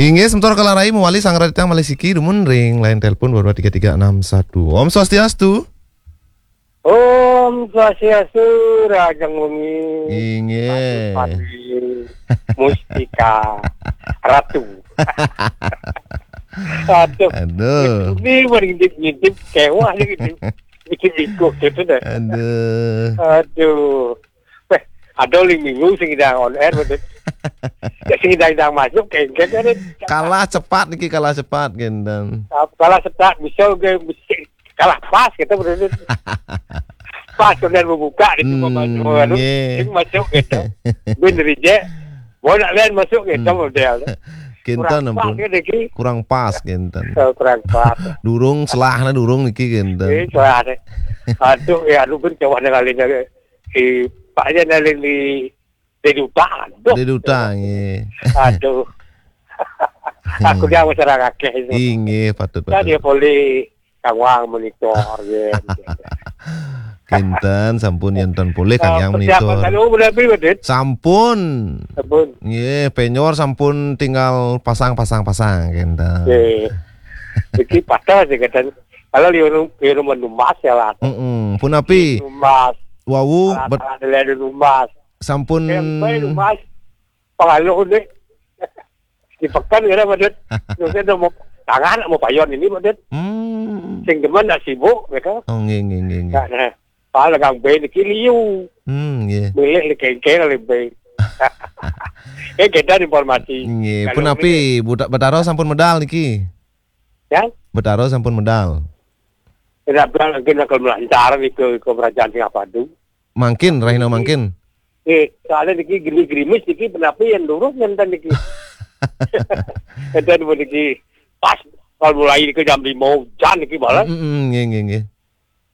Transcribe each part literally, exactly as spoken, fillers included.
Inggih, semeton Kelarai mawali sanggra titiang malih siki dumun ring line telepon dua dua tiga tiga enam satu. Om Swastiastu. Om Swastiastu, rahajeng wengi. Inggih. Pati Mustika Ratu. Aduh. Aduh. Ini mah ngintip-ngintip kewah nih gitu. Ngintip-ngintip gitu dah. Aduh. Aduh. Weh, ada ling minggu sing ngidang on air, betul. Ya, sing ngidang-ngidang masuk, kengkeng, kan? Kalah cepat niki, kalah cepat, kénten. Kalah cepat, bisa ke, bisa kalah pas, gitu, betul. Pas, kemudian membuka, gitu, Hmm, anu, nggih. Sing masuk, gitu. Bin reject, mau nak lain masuk, gitu, Hmm. model. Kénten, Kurang pas, ampun. Kan, niki? Kurang pas, kénten. Oh, kurang pas. Durung, selahna durung niki, kénten. Ini selahna. Aduh, ya, lu bin coba dengan lain, eh, Pak aja nalin di, di duta. Aduh. Di duta, nggih. Aduh. Aku dia masyarakat akeh itu. Inggih, patut, Kan patut. Dia boleh kawang monitor, ya. Kénten, sampun yen ten polih, Kang, Ah, yang persiapan monitor. Kalau udah beli, Dit? Sampun. Sampun. Nggih, penyor sampun tinggal pasang, pasang, pasang, kénten. Nggih. Iki patah sih, kadang. Kalau liur, liur rumah numbas ya lah. Mm-mm. Punapi? Numbas. Wau, Alat, bet-, alat, alat numbas. Sampun. Yang baik numbas. Pengaluh nih. Di pekan kira, Pak Dut. Terus saya mau tangan, mau payon ini, Pak Dut. Hmm. Sing demen nak sibuk, gitu. Oh, nggih, nggih, nggih, nggih. Nah, nah. Pak Legang B niki liu. Hmm, nggih. Milih di kengkeng oleh B. Eh, kita informasi. Nggih, kalau punapi, ini Buta-, Betara sampun medal niki? Ya? Betara sampun medal. Tidak bilang lagi nakal melancar nih ke, ke kerajaan Singapadu. Mangkin, rahina mangkin. Eh, soalnya niki gini gerimis niki, kenapa yang lurus ngenten niki? Ngenten niki pas kalau mulai ke jam lima hujan niki malah. Mm, mm, nggih, nggih, nggih.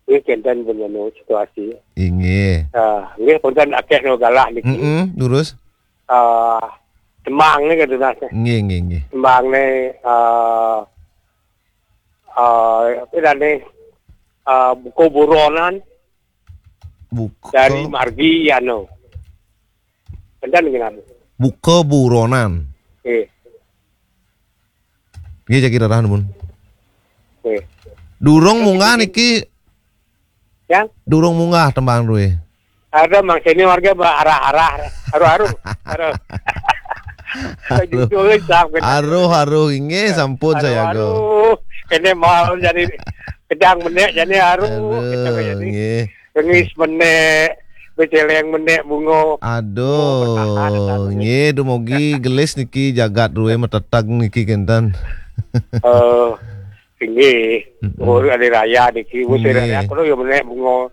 Nggih, kénten pun anu situasi. Inggih. Ah, nggih, punten akeh no galah niki. Mm-mm, durus. Ah, Temang nih, gitu, Mas. Nggih, nggih, nggih. Temang nih, ah, ah, apa namanya? Ah, Buko Buronan Buka. Dari margi, anu. Kénten nggih, anu. Buka Buronan. Eh. Nggih, jagi rerah, nuwun. Nggih. Durung munggah niki. Ya? Durung munggah tembang duwe. Ada Mang Seni warga ba-, arah-arah, aruh-aruh. Aruh. Aruh. Judulnya siap, kan? Aruh, aruh, inggih, sampun saya go. Aruh. Ini mau jadi kedang menek, jadi aruh. Aruh, gitu, jadi. Nggih. Rengis menek, beceleng menek, bungo. Aduh, oh, bertahan, bertahan. Nggih, dumugi gelis niki jagat duwe meteteg niki kénten. Eh, inggih. Mm-mm. Oh, hari raya niki, musim raya, nggih. Aku yo menek bungo.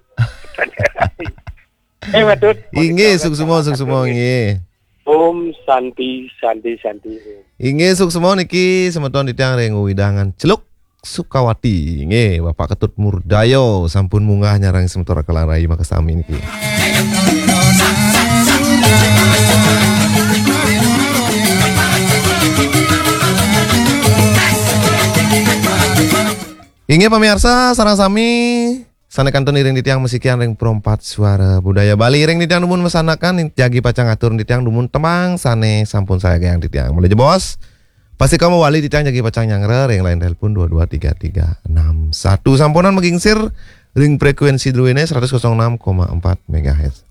Eh, betul. Inggih, suksma, suksma, nggih. Om Santi, Santi, Santi. Inggih, suksma niki semeton titiang ring wewidangan Celuk Sukawati. Nggih, Bapak Ketut Murdayo sampun munggah nyarengin semeton Kelarai makasami niki. Inggih pamiarsa sareng sami sané kantun iring titiang masikian ring Perempat Suara Budaya Bali. Iring titiang dumun masanakan, jagi pacang atur titiang dumun tembang sané sampun sayagayang titiang. Malih jebos, pastika mawali titiang jagi pacang nyanggra ring line telepon dua dua tiga tiga enam satu. Sampunang magingsir ring frekuensi druéné seratus kosong enam koma empat megahertz.